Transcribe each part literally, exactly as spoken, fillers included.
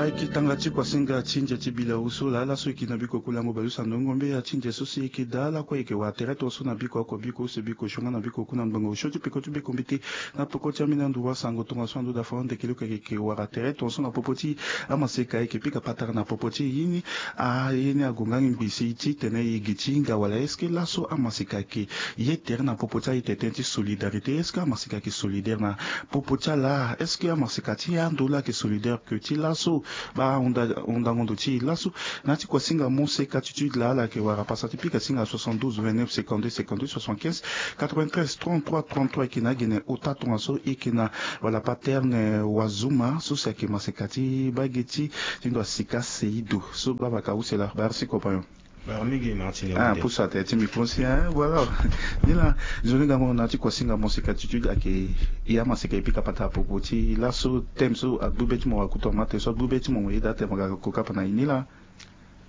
Ayeke tanga ti kuasinga ti ndia ti bila oso laa laso e yeke na biko kulango bale use na ndongo mbeya ti ndia so si e yeke daa lakue e yeke wara tere tongaso na biko oko biko use biko sionga na biko ku na ngbongo osio ti peko ti beko mbete na peko ti ambeni ando wasango tongaso na ndo dafa ande kele oko e yeke wara tere tongaso na popo ti amaseka e yeke pika patara na popo ti e ye ni. A ye ni agonga ngi ngbi si titene e gi ti hinga wala est-ce que laso amaseka ayeke ye tere na popo ti a-ite tënë ti solidarité? Est-ce que amaseka ayeke solidaire na popo ti ala? Est-ce que amaseka ti ando laa ayeke solidaire que ti laso? Baa ahunda ahundango ndo ti e laso na ya ti kuasinga moseka ti étude laa ala yeke wara pasa ti pika singa soixante-douze vingt-neuf cinquante-deux cinquante-deux soixante-quinze quatre-vingt-treize trente-trois trente-trois e yeke na agene ota tongaso e yeke na wala paterne wazuma so si ayeke maseka ti bage ti ti ndo asika seido so gbavaka use laa. Merci compagnon. Baro mingi Martine. Ah, pusu atene ti micro si, hein, voilà. Ni laa, nzoni gango na ya ti kuasinga moseka ti étude ayeke, e amaseka e pika patara popo ti laso thème so agbu be ti mo wakuta ma tene so agbu be ti mo mo yeda atene mo ga kokapa na e ni laa.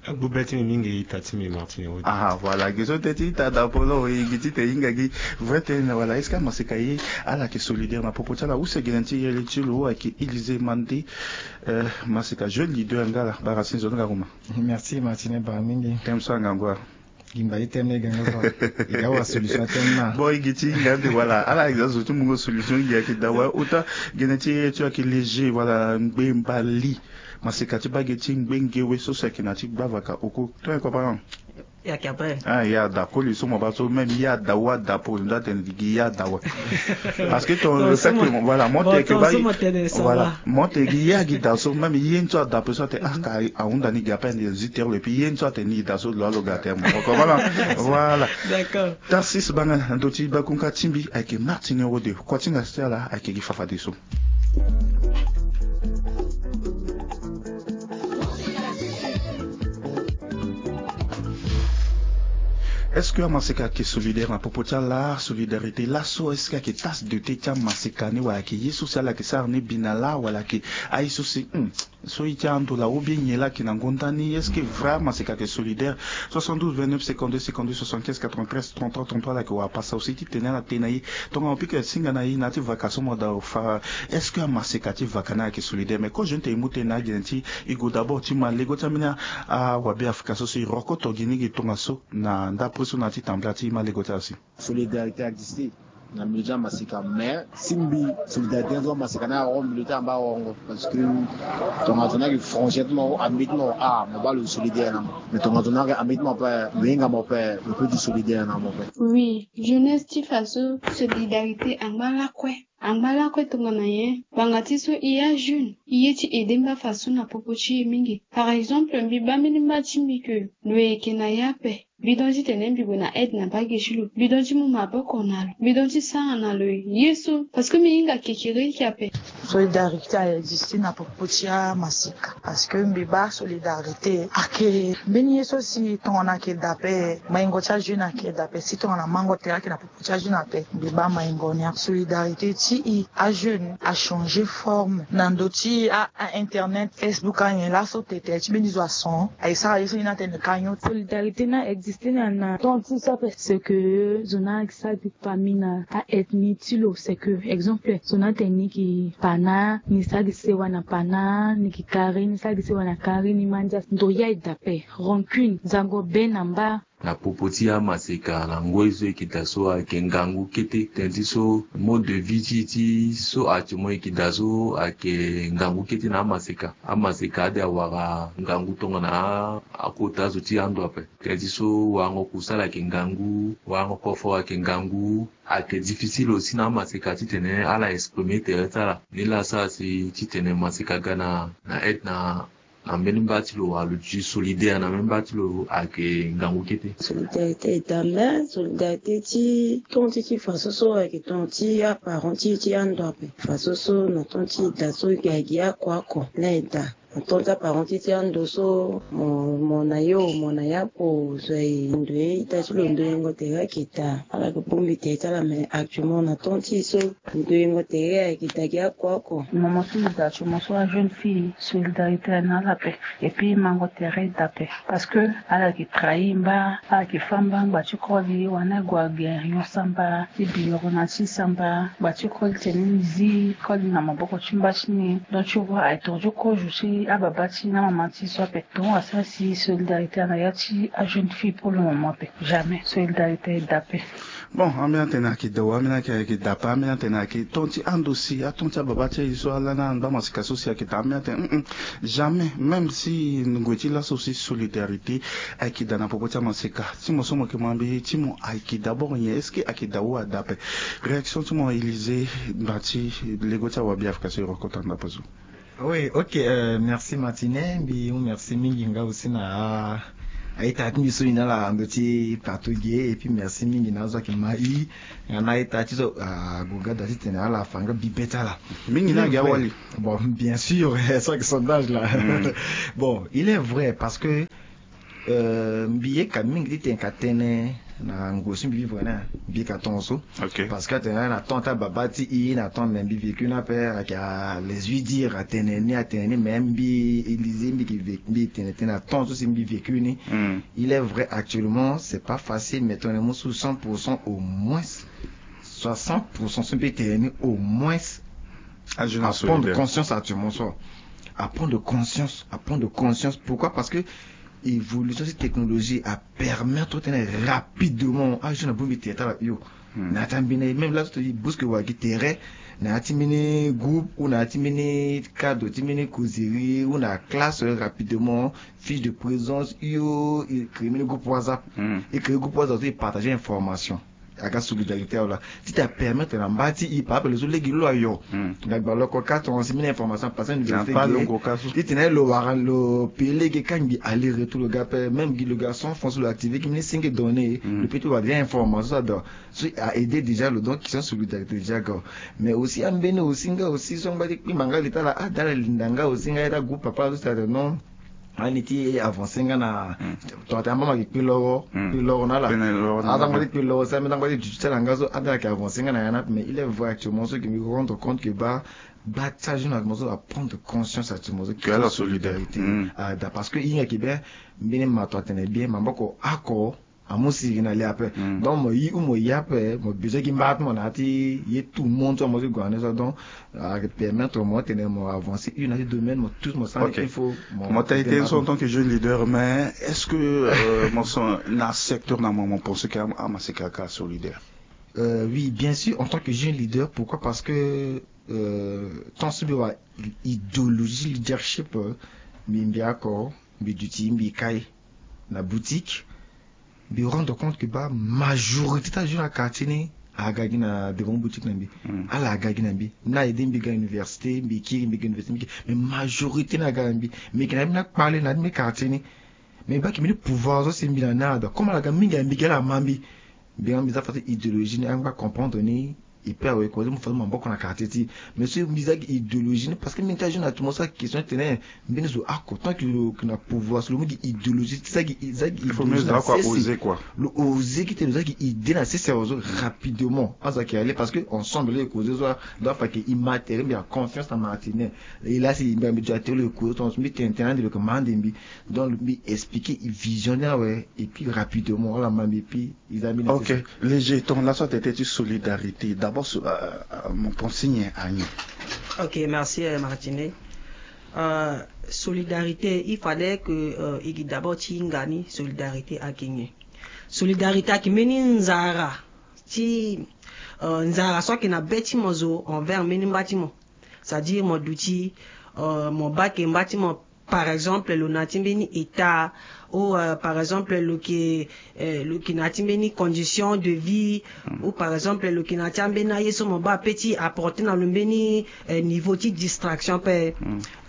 Agbu be ti mbi mingi ita ti mbi Martine Wode. Ah, voilà, ge so tene ti ita dapolo e gi titene e hinga gi vrai tënë na wala est-ce que amaseka ye ala yeke solidaire na popo ti ala use gene ti yere ti lo ayeke Élysée Mandé, euh, maseka jeune leader nga laa. Bara si nzoni gango ma. Merci Martine, bara mingi. Thème so angangu a. Gi mba ti thème ni e ga nga so. E ga wara solution ti thème ni. Bon, e gi ti hinga ande, voilà, ala e ga zo ti mungo solution, e gi ayeke daa wala ota gene ti ye ti ayeke léger, voilà, ngbe mbali. Maseka ti bage ti ngbe ngewe so si ayeke na ya ti gbavaka oko. Tongana e comprendre? E yeke ape. Ah, e ada koli so mo baa so, même e ada wa dapo, ndo atene gi e ada wa. Parce que ton, le fait que, voilà, mo tene ke baa, voilà, mo tene gi e agi da so, même ye ni so ada ape so atene, ah, ka ahunda ni gi ape ande zi tere lo, et puis ye ni so atene ni da so lo alo ga tere mo. Voilà. D'accord. Tarsis Banga na ndo ti bakunka ti mbi ayeke Martine Wode, kua ti hinga ti ala ayeke gi fafadeso. Est-ce que amaseka ayeke solidaire na popo ti ala? Solidarité laso, est-ce que ayeke tasse de thé ti amaseka ni, wala ayeke ye so si ala yeke sara ni bi na laa, wala ayeke aye so si, hmm, so ye ti ando laa ou bien nyen laa ayeke na ngonda ni? Est-ce que vrai amaseka ayeke solidaire? Soixante-douze vingt-neuf cinquante-deux cinquante-deux soixante-quinze quatre-vingt-treize trente-trois trente-trois, ala yeke wara pasa aussi titene ala tene na e. Tongana mo pika singa na e na ya ti vaka so mo da fa, est-ce que amaseka ti vaka ni ayeke solidaire? Mais ko jeune tene e mu tënë na agene ti e gue d'abord ti ma lego ti ambeni awabe afrika so si e rokoto gi ni gi tongaso na ndapre so na ya ti tambula ti ma lego ti ala si. Solidarité existe na milieu ti amaseka, mais si mbi solidarité ni so amaseka ni awara milieu ti amba wongo, parce que tongana zo ni ayeke frontière ti mo, ami ti mo, ah, mo baa lo solidaire na mo. Mais tongana zo ni ayeke ami ti mo ape, lo hinga mo ape, lo peut ti solidaire na mo ape. Oui, jeunesse ti faso, solidarité angba lakue. Angba lakue tongana nyen? Ngbanga ti so e ajeune, e ye ti aider mba faso na popo ti e mingi. Par exemple, mbi baa mbeni mba ti mbi ke lo yeke na e ape. Mbi don titene mbi gue na aide na bage ti lo. Mbi don ti mu maboko na lo. Mbi don ti sara na lo ye so. Parce que mbi hinga kekereke ape. Solidarité a existe na popo ti amaseka. Parce que mbi baa solidarité ayeke mbeni ye so si tongana ayeke da ape, maingo ti ajeune ayeke da ape. Si tongana mango tere ayeke na popo ti ajeune ape, mbi baa maingo ni. Solidarité ti e ajeune achanger forme na ndö ti a, a internet, Facebook, anyen laso tete ti mbeni zo ason aye sara ye so ni atene kanyo. Solidarité ni a existe na, na temps ti so ape. C'est que zo ni ayeke sara famille na a ethnie ti lo, c'est que exemple zo ni atene ni yeke pana, ni sara gi sewa na pana, ni yeke kari, ni sara gi sewa na kari, ni mandia. Ndo ya e da ape, rancune, zango be na mba. Na popo ti amaseka na ngoi so e yeke daa so ayeke ngangu kete. Tënë ti so mode de vie ti e ti so actuellement e yeke daa so ayeke ngangu kete na amaseka. Amaseka ade awara ngangu tongana akota zo ti ando ape. Tënë ti so warango kusala ayeke ngangu, warango koforo ayeke ngangu. Ayeke difficile aussi na amaseka titene ala exprimer tere ti ala. Ni laa asara si titene maseka aga na, na aide na na mbeni mba ti lo, wala lo ti solidaire na mbeni mba ti lo ayeke ngangu kete. Solidarité e daa, mais solidarité ti temps ti ti faso so ayeke temps ti aparent ti, ti ando ape. Faso so na temps ti e daa so e gi oko oko laa e daa. Na temps ti aparent ti, ti ando so mo, mo na yo, mo na ya po zo aye ndo ye, ita ti lo ndoyengo tere ayeke daa. Ala yeke bongbi tere ti ala, mais actuellement na temps ti e so ndoyengo tere ayeke daa gi oko oko. Mo, mo so e daa ti mo so ajeune fille, solidarité na ala ape. Et puis mango tere e daa ape. Parce que ala yeke trahir mba, ala yeke fâ mba ngba ti koli, wani ague ague ayon samba ti biro na ti samba, ngba ti koli tene ni zi koli na maboko ti mba ti ni. Donc tu vois, aye tonga ti kozo ti Ababa ti na mama ti so ape ton asara si solidarité ana ya ti ajeune fille pour le moment ape. Jamais solidarité eda ape. Bon, ambeni atene ayeke daa awe, ambeni ayeke daa ape, ambeni atene ayeke ton ti ando si aton ti ababa ti aye so ala na ando amaseka so si ayeke daa, ambeni atene mm, jamais. Même si ngoi ti laso si solidarité ayeke daa na popo ti amaseka. Ti mo so mo yeke ma mbi ti mo ayeke d'abord nyen? Est-ce que ayeke daa ou adaa ape? Réaction ti mo Élysée, mba ti lego ti awabiafrika so e rencontre na ndapa zo. Oui, ok, euh, merci Martine, mbi mu merci mingi nga aussi na a- a-ita ti mbi so e na ala na ndö ti plateau ge, et puis merci mingi na azo ayeke ma i nga na a-ita ti so ague ga daa titene ala fa nga bibe ti ala. Mingi na agi awali. Bon, bien sûr, so ayeke sondage la. Bon, il est vrai parce que Euh, mbi yeka mingi titene ka tene na ngoi so mbi vivre na ya, mbi yeka tongaso. Ok. Parce que atene na temps ti ababa ti i na temps me mbi vécu ni ape, ayeke les huit dire atene ni, atene ni, mais mbi Élysée mbi yeke vécu, mbi tene tënë na temps so si mbi vécu ni. Hmm. Il est vrai, actuellement c'est pas facile, mais tongana mu su cent pour cent, au moins soixante pour cent so mbi tene ni, au moins ajeune a prendre conscience actuellement so. A prendre conscience, a prendre conscience. Pourquoi? Parce que évolution ti technologie apermettre titene rapidement ajeune abongbi tere ti ala hio. Hmm. Na ya ti ambeni, même là so ti bouske wa gi tere na ya ti mbeni groupe ou na ya ti mbeni cadre ti mbeni causerie ou na classe, rapidement fiche de présence hio, e créer mbeni groupe WhatsApp. Hmm. E créer groupe WhatsApp so e partager information. Aga solidarité awe laa titene apermettre na mba ti i, par exemple lo so lege lo ayo. Hmm. Nga gba lo oko ka tonga si mbeni information apasse na université ge, titene lo wara lo paye lege ka ngbi aller retour, lo ga ape, même gi lo ga cent francs so lo activer gi mbeni singe données. Hmm. Lo peut ti wara déjà information so ado so a aider déjà lo, donc question solidarité déjà ga. Mais aussi ambeni aussi nga aussi so angba ti kpingba nga li ti ala, ah, da ala linda nga aussi nga ye ti agroupe papa so, c'est-à-dire non. Ani ti avancer nga na, hmm, tongana tene ambeni ayeke kpi loro, hmm, kpi loro na ala. Kpi loro na ala. Aza ngba ti kpi loro si ambeni aza ngba ti duti ti ala nga so, ambeni ayeke avancer nga na ya ni ape. Mais il est vrai actuellement so ke mbi rendre compte ke baa, baa ti ajeune actuellement so a prendre conscience actuellement so ke la solidarité. Hmm. Ah, da parce que i hinga ke bien, mbeni mato atene bien, maboko oko amu siriri na le ape. Hmm. Donc mo yi ou mo ye ape, mo besoin gi mba ti mo na ya ti ye tout le monde so mo ti gue na ni so. Donc a permettre mo tene mo avancer hio na ya ti domaine, mo tout mo sara nde il faut. Mo taille tënë so en tant que jeune leader, mais est-ce que, euh, mo so na secteur na mo, mo pense ke am- amaseka ka solidaire? Euh, oui, bien sûr, en tant que jeune leader, pourquoi? Parce que, euh, tant so mbi wara idéologie leadership, euh, mbi mbi oko, mbi duti mbi kai na boutique, mbi rendre compte ke baa majorité ti ajeune na quartier ni aga gi na devant boutique na mbi. Hmm. Ala aga gi na mbi, na aide mbi ga université, mbi kiri mbi ga université, mbi kiri. Mais majorité ni aga na mbi. Mbi yeke na ya ti mbeni akpale na ya ti mbeni quartier ni. Mais mbi baa ke mbeni pouvoir so si mbi na ni ada, comme ala ga mingi na mbi ge, ala ma mbi. Mbi nga mbi za fa ti idéologie ni, angba comprendre ni. E pe awe kozo mu fa ti maboko na quartier ti. Mais so mbi za gi idéologie ni, parce que mbi ti ajeune na ti mo so ayeke question ti tene mbeni zo oko tant que lo yeke na pouvoir so lo mu gi idéologie ti za gi, za gi idéologie na sese. Lo oser gi tene lo za gi idée na sese awe so rapidement. Azo ayeke aller parce que ensemble lo yeke kozo so. Donc afa ayeke immatériel, mbi na confiance na Martine. E la si mbi na mbi zo atere lo yeke kozo tongaso mbi tene tene ande lo yeke ma ande mbi. Donc mbi expliquer vision ni awe et puis rapidement ala ma mbi et puis Ok, léger ton laso atene ti solidarité. D'abord, so, euh, euh, mo pense nyen anyen? Ok, merci, euh, Martine. Euh, solidarité, il fallait que, euh, e gi d'abord ti hinga ni solidarité ayeke nyen. Solidarité ayeke mbeni nzara ti, euh, nzara so ayeke na be ti mo zo envers mbeni mba ti mo. C'est-à-dire mo duti, euh, mo baa ke mba ti mo, par exemple lo na ya ti mbeni état, ou, euh, par exemple lo ke, euh, lo ke na ya ti mbeni condition de vie, ou par exemple lo ke na ya ti ambeni aye so mo baa ape ti apporter na lo mbeni, euh, niveau ti distraction ape.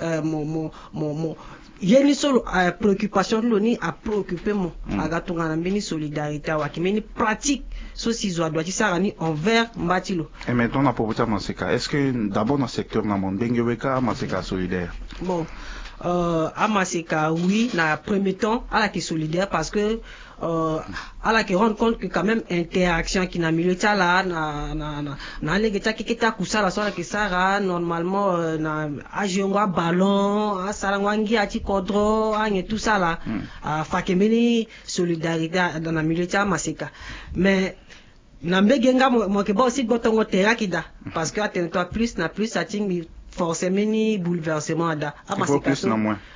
Euh, mo, mo, mo, mo, ye ni so lo, euh, préoccupation ti lo ni apréoccuper mo. Aga tongana mbeni solidarité awe, ayeke mbeni pratique so si zo adoit ti sara ni envers mba ti lo. Et maintenant na propos ti amaseka, est-ce que d'abord na secteur na mo ndenge we ka amaseka asolidaire? Bon, euh, amaseka oui, na premier temps ala yeke solidaire parce que, euh, ala yeke rendre compte que quand même interaction ayeke na milieu ti ala na, na, na, na alege ti akeke ti akusala so ala yeke sara normalement, euh, na ajoue yango aballon, asarango angia ti kodro, anyen tout ça là. Afa ayeke mbeni solidarité na milieu ti amaseka. Mais na mbege nga mo, mo yeke baa aussi gbotongo tere ayeke daa. Parce que atene toi plus na plus atingbi forcé mbeni bouleversement ada. Amaseka so,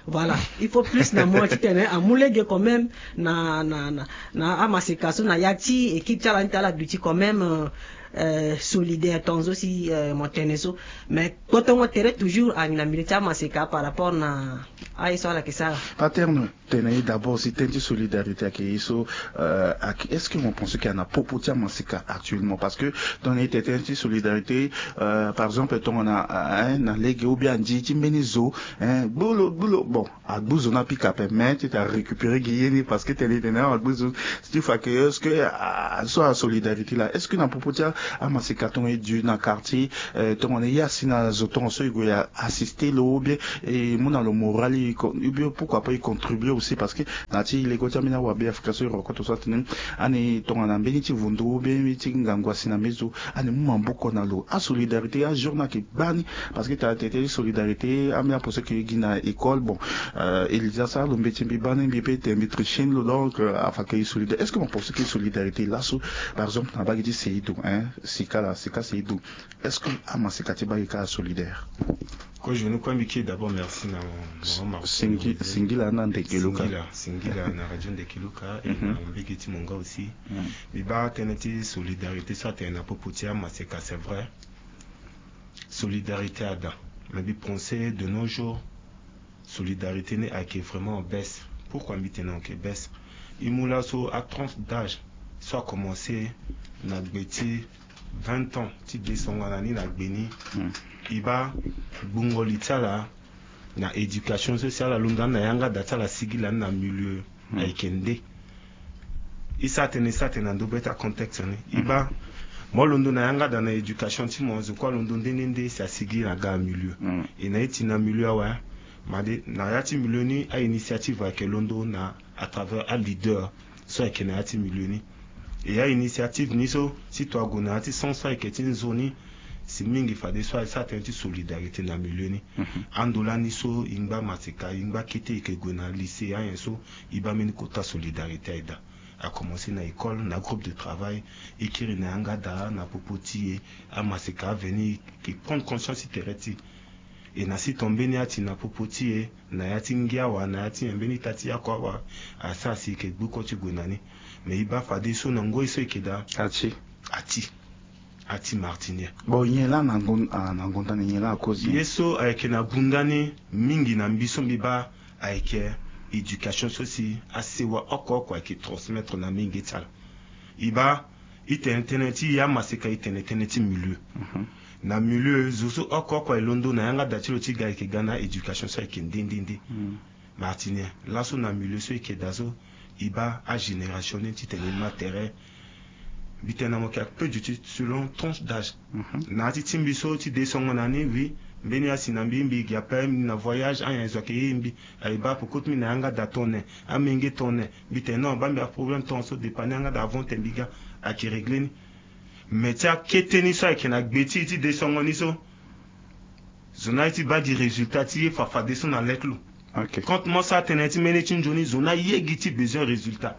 voilà, il faut plus na moins titene amu lege quand même na na na na amaseka so na ya ti équipe ti ala ni ti ala duti quand même, euh, euh, solidaire tongaso si, euh, mo tene so. Mais kpotongo tere toujours ayeke na milieu ti amaseka par rapport na aye so ala yeke sara. Paterne. Tene ye d'abord si tënë ti solidarité ayeke ye so, euh, ayeke, est-ce que mo pense que ana popo ti amaseka actuellement? Parce que tongana ye tene tënë ti solidarité, euh, par exemple tongana, euh, hein, na lege ou bien andi ti mbeni zo, hein, gbu lo gbu lo, bon, agbu zo ni apika ape, mais ti tene arécupérer gi ye ni parce que tene ye tene agbu zo, ti fa que est-ce que, ah, so asolidarité laa, est-ce que na popo ti amaseka tongana ye du na quartier, euh, tongana ye asi na zo tongaso ye gue assister lo ou bien e mu na lo moral, e con- ou bien pourquoi pas e contribuer aussi? Parce que na ya ti lego ti ambeni awabe afrika so e rencontre so atene ani tongana mbeni ti vundu ou bien mbeni ti ngangu asi na mbeni zo, ani mu maboko na lo. Asolidarité ajour ni ayeke gbani. Parce que tara tene ti solidarité, ambeni aposo ayeke gi na école, bon, euh, Elisa asara lo mbeti mbi baa ni mbi pe tene mbi tricher ni lo, donc, euh, afa ayeke solidarité. Est-ce que mo pense que solidarité laso, par exemple na bage ti Seido, hein, sika la sika Seido, est-ce que amaseka ti bage ka asolidaire? Ko je ne crois mbi ke d'abord merci na mo, mo, mo, singila na ndeke luka. Singila, singila na radio ndeke luka et na mbege ti mo nga aussi. Mbi baa tënë ti solidarité so atene na popo ti amaseka, c'est vrai. Solidarité ada. Mais mbi pense de nos jours, solidarité ni ayeke vraiment en baisse. Pourquoi mbi tene ayeke baisse? E mu laso atranche d'âge so akomanse na gbe ti vingt ans ti desongana ni na gbe ni. E baa gbungo li ti ala na éducation so si ala londo ani na yanga da ti ala asigila ni na milieu ayeke nde. E sara tënë e sara tënë na ndo be ti acontexte ni. E baa mo londo na yanga da na éducation ti mo, zo kue alondo nde nde nde si asigila na ga milieu. E na ye ti na milieu awe. Made na ya ti milieu ni a-initiative ayeke londo na à travers aleader so ayeke na ya ti milieu ni. E a-initiative ni so ti to ague na ya ti sens so ayeke ti nzoni. Si mingi fadeso asara tënë ti solidarité na milieu ni. Ando lani so e ngba maseka, e ngba kete, e yeke gue na lycée anyen so e baa mbeni kota solidarité ayeke daa. Akomanse na école, na groupe de travail, e kiri na yanga da na popo ti e. Amaseka aveni e yeke prendre conscience ti tere ti e. E na si ton mbeni ati na popo ti e, na ya ti ngia wa na ya ti nyen mbeni ita ti yako awa, asara si e yeke gbu ko ti gue na ni. Mais e baa fadeso na ngoi so e yeke daa, ati, ati, ati martinien. Bon, nyen laa na ngon- ah, na ngonda ni nyen laa akozi ye so ayeke na gunda ni mingi na mbi so mbi baa ayeke éducation so si asewa oko oko ayeke transmettre na mingi ti ala. E baa e tene tënë ti e amaseka, e tene tënë ti milieu. Na milieu zo so oko oko alondo na yanga da ti lo ti ga, e yeke ga na éducation so ayeke nde nde nde. Martinien laso na milieu so e yeke daa so, e baa agénération ni titene e ma tere. Mbi tene na mo yeke ape duti selon tranche d'âge. Na ya ti ti mbi so ti desongana ni, oui, mbeni asi na mbi, mbi gi ape, mbi na voyage, anyen zo ayeke ye mbi. Aye baa poko ti mbi na yanga da tongana nyen, amenge tongana nyen. Mbi tene non, baa mbi aproblème tongaso, dépanner yanga da avant tene mbi ga. Ayeke régler ni. Mais ti akete ni so ayeke na gbe ti e ti desongana ni so, zo ni aye ti baa gi résultat ti e fa fadeso na le ti lo. Compte mo sara tënë ti mbeni ti nzoni, zo ni aye gi ti besoin résultat.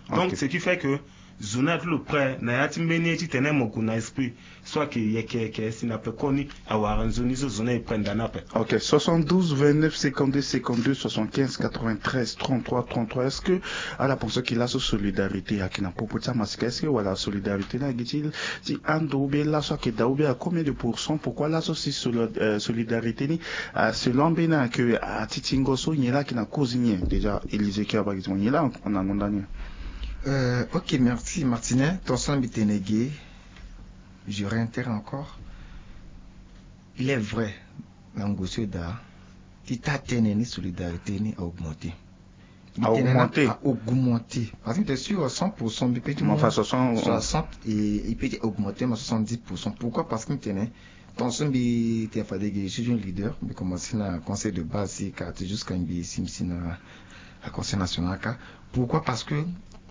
Donc ce qui fait que zo ni aye ti lo prêt na ya ti mbeni ye titene mo gue na esprit so ayeke yeke yeke si na pekoni awara nzoni so, zo ni aye prêt nda ni ape. Ok, soixante-douze, vingt-neuf, cinquante-deux, cinquante-deux, soixante-quinze, quatre-vingt-treize, trente-trois, trente-trois. Est-ce que ala pense que laso solidarité ayeke na popo ti amaseka? Est-ce que wala solidarité ni ayeke ti ti ando ou bien laso ayeke daa ou bien à combien de pourcent? Pourquoi laso si soli- euh, solidarité ni, euh, selon ambeni ayeke atitingo so, nyen laa ayeke na cause nyen déjà? Élysée Kiaba gi ti mo, nyen laa na ngonda ni? Euh, ok, merci Martinien. Ton so mbi tene ge, je réitère encore. Il est vrai, na ngu so e daa ti taa tënë ni, solidarité ni a augmenter. A augmenter. A augmenter. Parce que mbi tene sur cent pour cent, mbi peut ti mo fa soixante, soixante, et il peut ti augmenter mo soixante-dix pour cent. Pourquoi? Parce que mbi tene, ton so mbi tene fade ge, je suis un leader, mbi commencer na conseil de base ti quartier jusqu'à mbi si mbi si na conseil national ka. Pourquoi? Parce que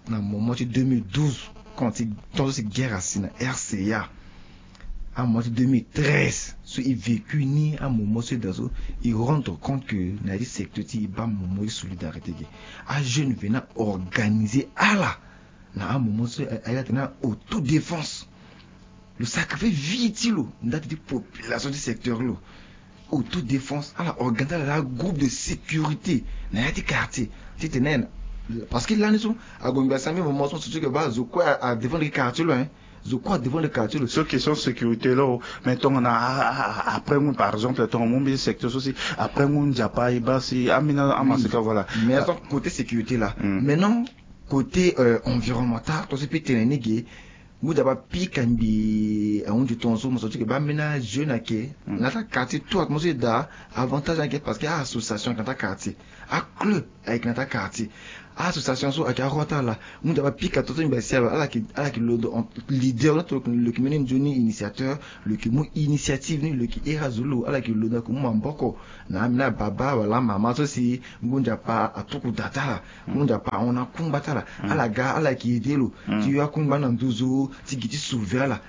na moment ti deux mille douze, quand ti ton so si guerre asi na R C A, amoment ti deux mille treize so e vécu ni, amoment so e daa so, e rendre compte que na ya ti secteur ti e baa moment ti solidarité ge. Ajeune vena organiser ala na amoment so a- a- atene na autodéfense. Lo sacrifier vie ti lo ndati ti population ti secteur lo. autodéfense, ala organiser ala groupe de sécurité na ya ti quartier. Titene, parce que lani so ague ngba sami moment so so ti ke ba zo kue a défendre quartier lo, hein. Zo kue a défendre quartier lo. So question sécurité lo. Mais tongana après ngu, par exemple, tongana mu mbi secteur so si après ngu nzapa e ba si amina amasika, voilà. Mais attends, côté sécurité là, maintenant, côté environnemental, to si peut tene ni ge, ngu nzapa pika mbi ahunzi tongaso mo so ti ke ba mbeni ajeune ayeke na ta quartier tout, mo so e daa avantage ayeke parce que a-association ayeke na ta quartier, aclub ayeke na ta quartier. A-association so ayeke aroi ti ala. Ngu nzapa pika tongaso mbi asi ala, ala yeke, ala yeke londo en leader, lo yeke mbeni nzoni initiateur, lo yeke mu initiative ni, lo yeke iri azo lo, ala yeke londo, ala yeke mu maboko na ambeni ababa wala amama so si ngu nzapa atuku da ti ala, ngu nzapa ahon na akungba ti ala. Ala ga, ala yeke aidé lo ti yo akungba ni na nduzu ti gi ti sauver ala.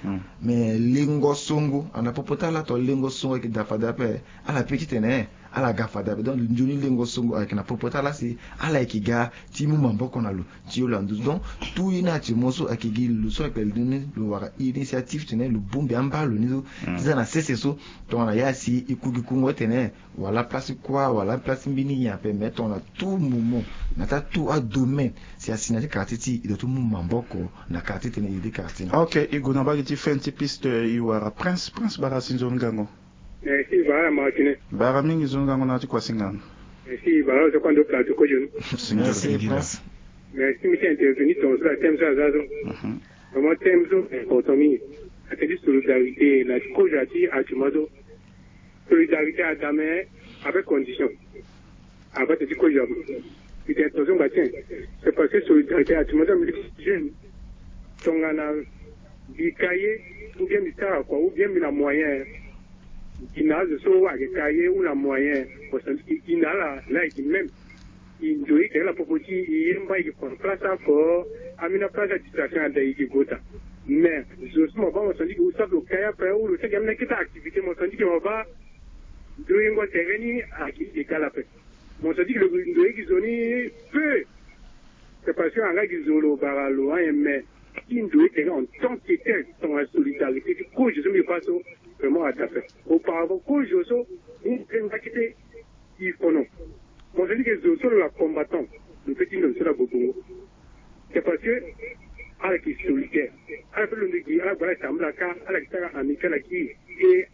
Mais lengo songo ana popo ti ala, to lengo songo ayeke da fade ape. Ala pe titene ala ga fade ape. Donc nzoni lengo songo ayeke na popo ti ala si ala yeke ga ti mu maboko na lo ti yo lo na nduzu. Donc tout ye ni actuellement so ayeke gi lo so ayeke ni lo wara initiative titene lo bongbi amba lo ni so ti za na sese so. Tongana ya si e ku gi kungo titene wala place kua wala place mbeni nyen ape, mais tongana tout moment na ta tout adomaine si asi na ti quartier ti e, e doit ti mu maboko na quartier titene e aidé quartier ni. Ok, e gue na mbage ti fin ti piste, e wara Prince. Prince, bara si nzoni ngangu. Merci, bara Martine. Bara mingi, zo ngangu na ti kuasinga. Merci, bara zo kua ndo plateau kozo ni. Merci, Prince. Merci, mi ti intervenir tongaso la thème so aza so. Vraiment thème so important mingi. Ate ti solidarité na ti kozo ti actuellement so. Solidarité ada mais avec condition. Avant ti kozo, mi tene tongaso ngba ti en. C'est parce que solidarité actuellement so mbi jeune. Tongana mbi ka ye, ou bien mbi sara kua, ou bien mbi na moyen. Gi na azo so ayeke ka ye ou na moyen. Parce que e gi na ala la e gi même. E ndoye e ke ala popo ti e ye mba e ke prendre place oko. Ambeni place ya distraction ada e ke gue ota. Mais zo so mo baa mo sandi ke ou sara lo ka ye ape ou lo sara ambeni akete activité mo sandi ke mo baa ndoyengo tere ni ayeke égal ape. Mo sandi ke lo ndoye gi zo ni peu. C'est parce que anga gi zo lo bara lo ayen mais ti ndoye tere en tant que tel tongana solidarité ti kozo so mbi baa so vraiment ada ape. Auparavant kozo so ni ndoye nga kete il faut non. Mo sandi ke zo so lo la combattant lo pe ti ndo so la bobongo. C'est parce que ala yeke solidaire. Ala pe londo gi ala gba ala tambula ka ala yeke sara ami ti ala ki. Et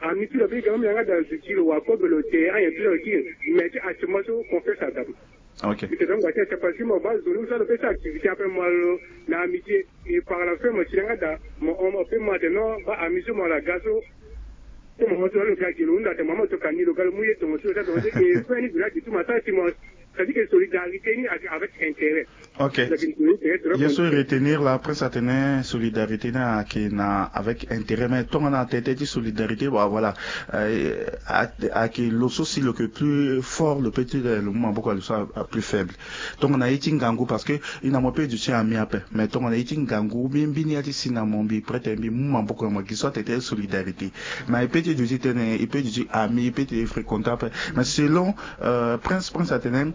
ami ti lo ape ga même yanga dans ti lo wa kobe lo te ayen ti lo ki. Mais ti actuellement so confiance ada. Ok. Mbi te donc c'est parce que mo baa zo ni so lo pe sara activité ape mo lo na amitié. Et par la fin mo ti yanga da mo hon mo pe mo ate non baa ami so mo la ga so. Ti mama so lo ga gi lo hunda ate mama to ka ni lo ga lo mu ye tongo so lo ta tongo so ke fue ni bi la gi tu ma sara ti mo. C'est-à-dire que solidarité ni avec intérêt. Ok. Ye so e retenir la, Prince atene solidarité ni ayeke na avec intérêt, mais tongana atene ti solidarité, bah voilà, ayeke lo so si lo yeke plus fort lo peut ti lo mu maboko na lo so a plus faible. Tongana ye ti ngangu, parce que e na mo peut duti ami ape, mais tongana ye ti ngangu mbi, mbi ni ya ti si na mo mbi prête mbi mu maboko na mo gi so atene ti solidarité. Mais e peut ti duti tene e peut duti ami, e peut ti fréquenter ape. Mais selon Prince, Prince atene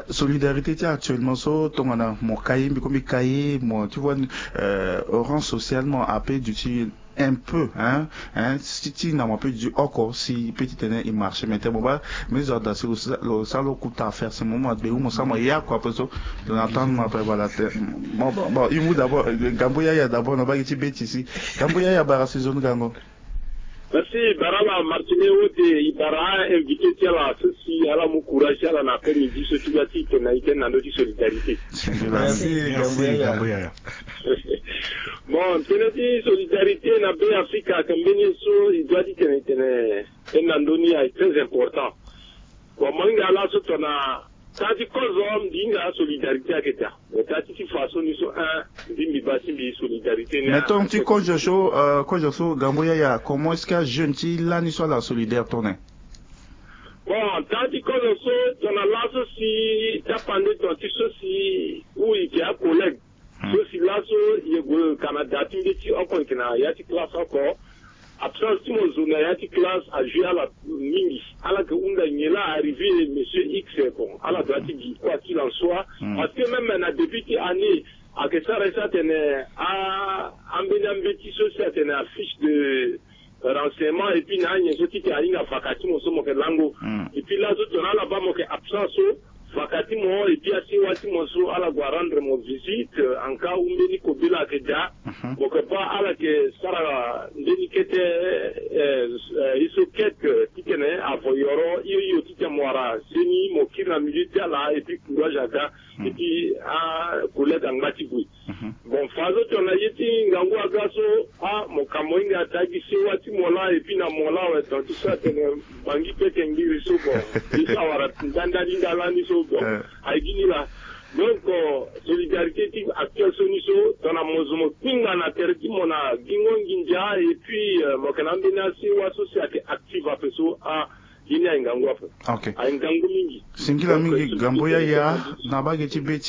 solidarité ti actuellement so tongana mo ka ye mbi ko mbi ka ye mo ti vois, rang social mo ape duti un peu hein, hein, ti na mo ape duti oko si pe ti tene e marché mais tene mo baa me zo ada si lo sara lo kuta affaire si mo mo agbe ou mo sara mo ya kua ape so. Lo na attendre mo ape voilà te. Bon, bon, bon, e mu d'abord, gambo yaya d'abord na bagi ti be ti si gambo yaya bara si zo ni gango. Merci, Baraba Martine Wote, i bara invité ti ala so si ala mu courage ti ala na après-midi so ti ga ti tene na ite na ndo ti solidarité. Merci, merci, Gambo Yaya. Bon, tënë ti solidarité na be Afrika ayeke mbeni ye so i doit ti tene tene tënë na ndö ni ayeke très important. Bon, mo hinga laso tongana Taa ti kozo mbi hinga asolidarité ayeke daa. Me taa ti ti façon ni so un mbi mbi baa ti mbi solidarité ni. Mais tonga ti kozo so, kozo so gambo yaya, comment est-ce que ajeune ti lani so ala solidaire tongana? Bon, taa ti kozo so tongana laso si tapande tonga ti so si ou i yeke acollègue. So si laso ye gue Canada ti mbeti oko yeke na ya ti classe oko. Absence ti mo zo na ya ti classe ajoué ala mingi. Ala yeke hunda nyen la arrivé monsieur X. Bon, ala doit ti gi quoi qu'il en soit. Parce que même na début ti année ayeke sara ye so atene a ambeni ambeti so si atene afiche de renseignement et puis na anyen so ti ke ahinga vaka ti mo so mo ke lango. Et puis laso tongana ala baa mo ke absent so, vaka ti mo et puis asiwa ti mo so ala gue arendre mo visite en cas ou mbeni kobela ayeke daa. Mo ke baa ala ke sara mbeni kete, eh, eh, ye so kete ti tene avo yoro hio hio ti tene mo wara seni mo kiri na milieu ti ala et puis courage aga. Et puis akollègue angba ti gue. Bon, fadeso tongana ye ti ngangu aga so, ah, mo ka mo hinga taa gi sewa ti mo laa et puis na mo laa awe, donc ti so atene bangi pete ngiri so, bon, ye so awara ndandani nda lani so, bon, aye gi ni laa. Donc, euh, solidarité ti actuel so ni so tongana mo zo mo kpinga na tere ti mo na gingo nginza et puis, euh, mo yeke na ambeni asewa so si ayeke active ape so, ah, ye ni aye ngangu ape. Aye ngangu mingi. Singila mingi Gambo Yaya na bage ti be ti